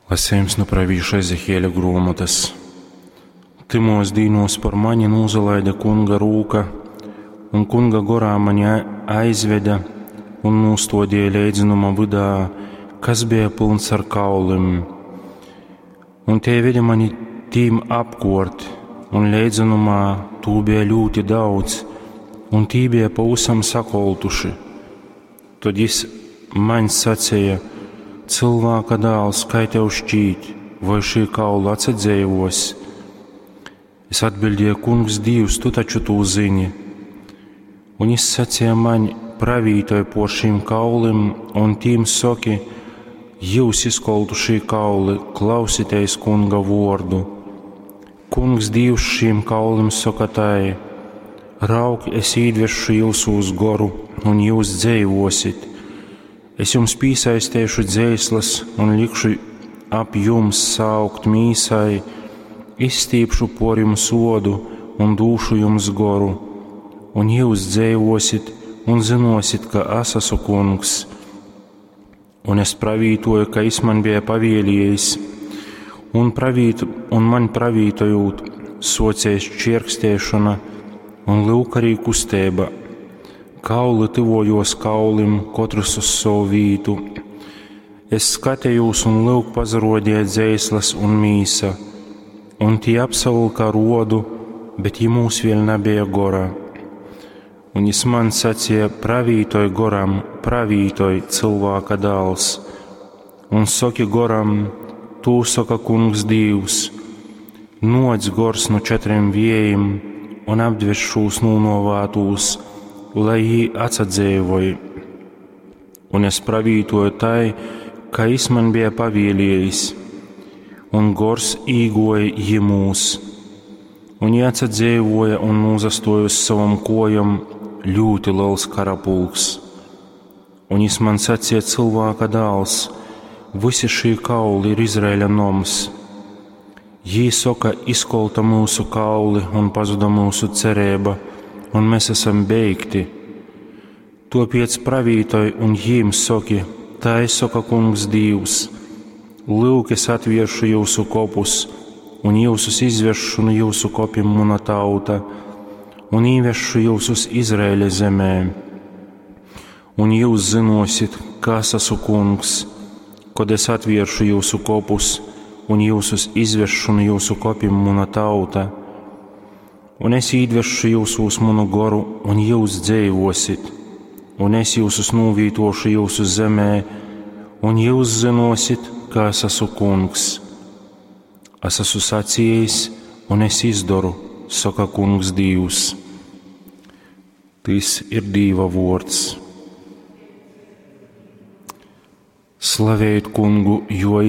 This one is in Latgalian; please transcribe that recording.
Lasejums nu pravīša Ezehieļa gruomotys. Tymuos dīnuos par mani nūsalaide Kunga rūka, un Kunga gorā mani aizvede un nūstuodīja leidzonuma vydā, kas beja pylns ar kaulim. Un tei vede mani tīm apkuort, un leidzonumā tū beja ļūti daudz, un tī beja pavysam sakoltuši. Tod jis maņ saceja: Cylvāka dāls, kai tev šķīt, voi šī kauli atsadzeivuos? Es atbildēju: Kungs, Dīvs, tu taču tū zini. Un jis saceja maņ: Pravītoj por šīm kaulim un tīm soki: Jyus izkoltušī kauli, klausiteis Kunga vuordu. Kungs Dīvs šīm kaulim soka tai: Raug, es īdvesšu jyusūs goru, un jyus dzeivuosit. Es jums pīsaisteišu dzeislys un likšu ap jums saaugt mīsai, izstīpšu puor jums uodu un dūšu jums goru, un jyus dzeivuosit un zynuosit, ka es esmu kungs. Un es pravītoju, ka jis man bija pavieliejis, un, pravītu, un man pravītojūt, suocēs čierkstēšona un lyuk arī kusteiba. Kauli tyvuojuos kaulim, kotrys uz sovu vītu. Es skatējūs un lyuk pasaruodīja dzeislas un mīsa, un tī apsavylka ar uodu, bet jimūs vēļ nabeja gora. Un jis man sacīja: Pravītoj goram, pravītoj, cylvāka dāls, un soki goram, tū soka kungs Dīvs: Nuoc gors nu četriem viejim un apdves šūs nūnuovātūs, lai jī atsadzeivoj. Un es pravītoju tai, kā jis man bija pavieliejis, un gors īgoja jimūs. Un jī atsadzeivoja un nūsastuoja uz savom kojom ļūti liels karapulks. Un jis man sacīja: Cylvāka dāls, visi šī kauli ir Izraēļa noms. Jī soka: Izkolta myusu kauli un pazuda myusu cerība, un mēs esam beigti. Topiec pravītoj un jīm soki: Tai soka kungs Dīvs: Lyuk, es atvieršu jūsu kopus, un jyusus izvesšu nu jūsu kopim muna tauta, un īvesšu jyusus Izraēļa zemē. Un jūs zinosit, ka es esmu kungs, kad es atvieršu jūsu kopus, un jyusus izvesšu nu jūsu kopim muna tauta. Un es īdvesšu jūsūs munu goru, un jūs dzeivosit, un es jūsus nūvītošu jūsu zemē, un jūs zinosit, ka es esmu kungs. Es esmu sacījis, un es izdaru, soka kungs Dīvs. Tys ir Dīva vuords. Slavējit kungu, jo